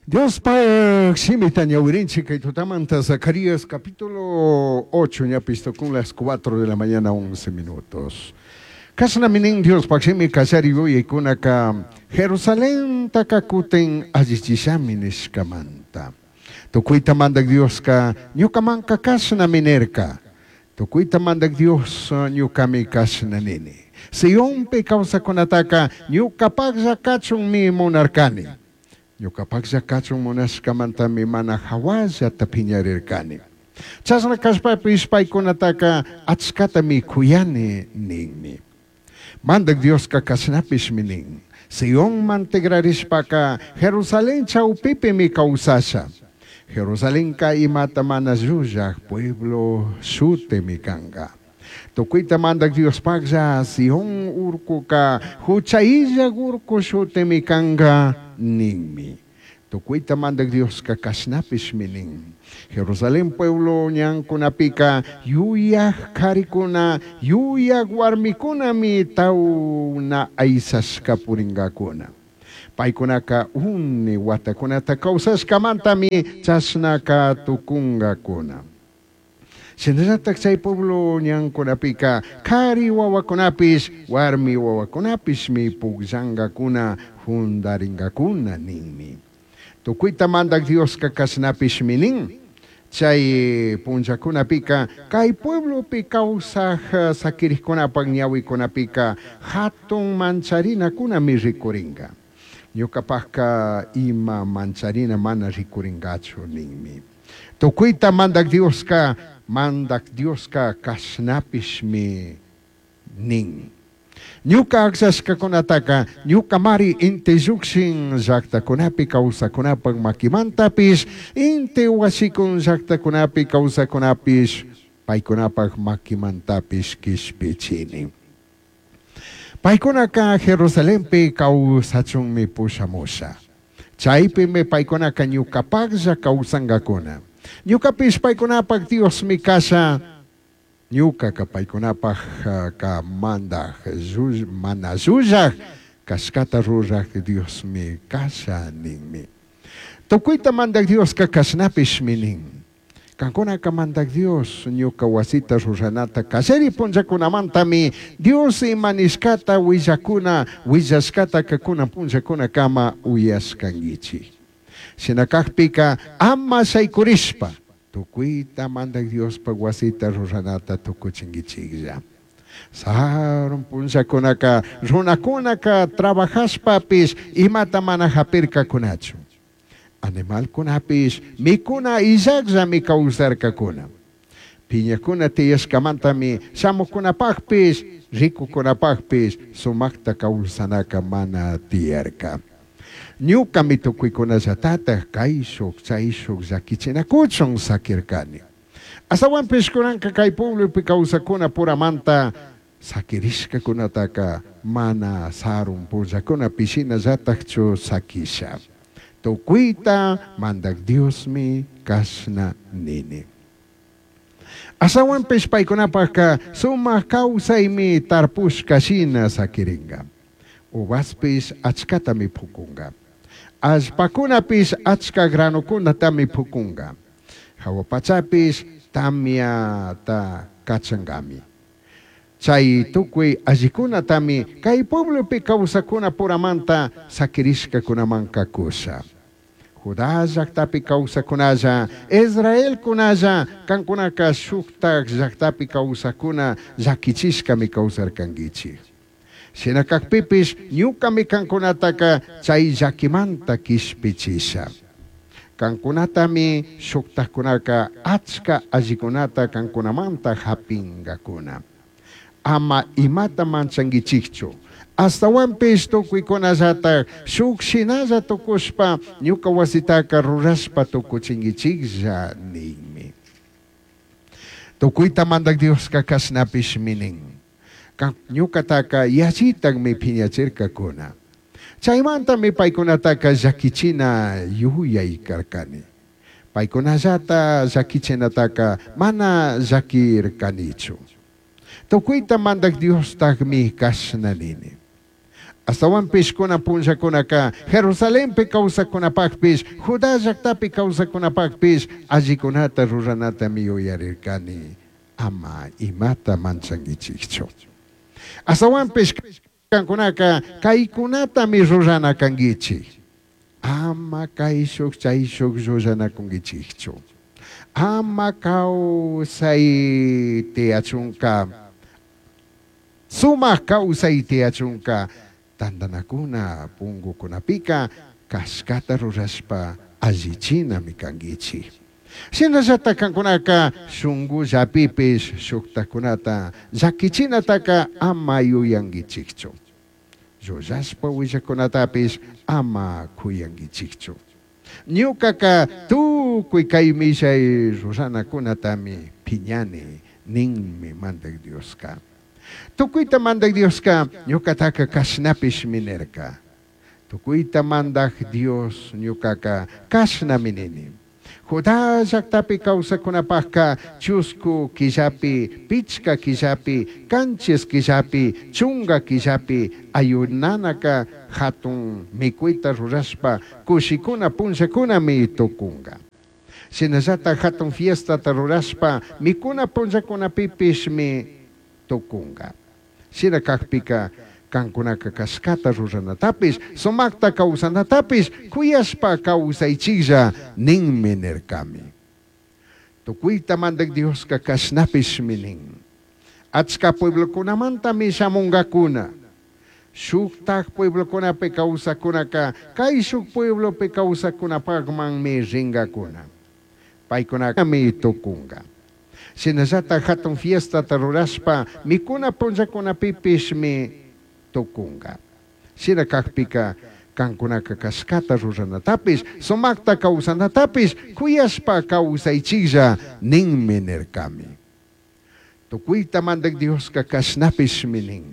Diospaj shimita ñawirinchik kay tutamanta Zacarías capítulo 8 ñapis tukun las 4 de la mañana 11 minutos. Kashnami nin Diospaj shimi kallari yuyaykunaka Jerusalentaka kutin allichishami nishkamanta. Tukuyta Mandak Dioska ñukamanka kashnami nirka. Tukuyta Mandak Dios ñukami kashna nini. Sionpi kawsakunataka ñukapajlla kachunmi munarkani. Ñucapajlla kachun munashkamantami mana jahuallata piñarirkani. Chashna kashpapish paykunataka achkatami kuyani ninmi. Mandak Dioska kashnapishmi nin. Sionman tigrarishpaka Jerusalén chawpipimi kawsasha. Jerusalenka imata mana llullaj pueblo shutimi kanka. Tukuyta Mandak Diospajlla Sion urkuka hucha illaj urku shutimi kanka ninmi. Tukuyta Mandak Dioska kashnapishmi nin. Jerusalén pueblo ñankunapika yuyaj karikuna, yuyaj warmikunami tawna aysashka purinkakuna. Paykunaka uni watakunata kawsashkamantami chashnaka tukunkakuna. Shinallatak chay pueblo ñankunapika kari wawakunapish warmi wawakunapishmi pukllankakuna jundarinkakuna ninmi. Tukuyta Mandak Dioska kashnapishmi nin. Chay punllakunapika kay pueblopi kawsaj sakirikunapak ñawikunapika hatun mancharinakunami rikurinka. Ñukapajka ima mancharina mana rikurinkachu ninmi. Tukuyta Mandak Dioska, Mandak Dioska kashnapishmi nin. Ñuka akllashkakunataka ñukamari inti llukshin llaktakunapi kawsakunapak makimantapish inti washikun llaktakunapi kawsakunapish paykunapak makimantapish kishpichini. Paykunaka Jerusalenpi kawsachunmi pushamusha. Chaypimi paykunaka ñukapaklla kawsankakuna. Ñukapish paykunapak Diosmi kasha. Ñukaka paykunapak ka mandak mana llullak kashkata ruraj Diosmi kasha ninmi. Tukuyta Mandak Dioska kashnapishmi nin. Kankunaka Mandak Dios ñuka wasita ruranata kallari punllakunamantami Dios ima nishkata willakuna willashkataka kunan punllakunakama uyashkankichik. Shina kakpika ama shaykurishpa tukuyta Mandak Diospak wasita ruranata tukuchinkichiklla. Sarun punllakunaka runakunaka trabajashpapish imata mana hapirkakunachu. Animalkunapish mikuna illakllami kawsarkakuna. Piñakuna tiyashkamantami shamukunapakpish rikukunapakpish sumakta kawsanaka mana tiyarka. Ñukami tukuykunallatatak kayshuk chayshuk llakichinakuchun sakirkani. Astawanpish kunanka kay pueblopi kawsakuna puramanta sakirishkakunataka mana sarun punllakuna pishinallatakchu sakisha. Tukuyta Mandak Diosmi kashna nini. Astawanpish paykunapaka sumak kawsaymi tarpushka shina sakirinka. Uvaspish achkatami pukunka. Allpakunapish achka granukunatami pukunka. Hawa pachapish tamyata kachankami. Chay tukuy allikunatami kay pueblopi kawsakuna puramanta sakirishkakunamanka kusha. Judá llaktapi kawsakunalla, Israelkunalla, kankunaka shuktak llaktapi kawsakuna llakichishkami kawsarkankichik. Shina kakpipish ñukami kankunataka chay llakimanta kishpichisha. Kankunatami shuktakkunaka achka allikunata kankunamanta hapinkakuna. Ama imata manchankichikchu. Astawanpish tukuykunallatak shuk shinalla tukushpa ñuka wasitaka rurashpa tukuchinkichiklla ninmi. Tukuyta Mandak Dioska kashnapishmi nin. Ñukataka yallitakmi piñachirkakuna. Chaymantami paykunataka llakichina yuyay karkani. Paykunallata llakichinataka mana llakirkanichu. Tukuyta Mandak Diostakmi kashna nini. Ashtahuanpish cunan punllacunaca Jerusalenpi causajcunapajpish, Judá llajtapi causajcunapajpish allicunata ruranatami yuyarircani. Ama imata manchanguichijchu. Ashtahuanpish cancunaca caicunatami rurana canguichij. Ama caishuj chaishuj llullanacunguichijchu. Ama causai tiyachunca, sumaj causai tiyachunca tandanacuna pungucunapica cashcata rurashpa allichinami canguichij. Shinallataj cancunaca shungullapipish shujtajcunata llaquichinataca ama yuyanguichijchu. Llullashpa huillajcunatapish ama cuyanguichijchu. Ñucaca tucui cai millai ruranacunatami piñani ninmi Mandaj Diosca. Tucuita Mandaj Diosca ñucataca cashnapishmi nirca. Tucuita Mandaj Dios ñucaca cashnami nini. Judá llajtapi causajcunapajca chuscu quillapi, pichca quillapi, canchis quillapi, chunga quillapi ayunanaca jatun micuita rurashpa cushicuna punllacunami tucunga. Shinallataj jatun fiestata rurashpa micuna punllacunapipishmi tucunga. Shina cajpica cancunaca cashcata ruranatapish, sumajta causanatapish cuyashpa causaichijlla ninmi nircami. Tucuita Mandaj Diosca cashnapishmi nin. Achca pueblocunamantami shamungacuna. Shujtaj pueblocunapi causajcunaca caishuj pueblopi causajcunapajmanmi ringacuna. Paicunami tucunga. Shinallataj jatun fiestata rurashpa micuna punllacunapipishmi tucunga. Shina cajpica cancunaca cashcata ruranatapish, sumajta causanatapish cuyashpa causaichijlla ninmi nircami. Tucuita Mandaj Diosca cashnapishmi nin.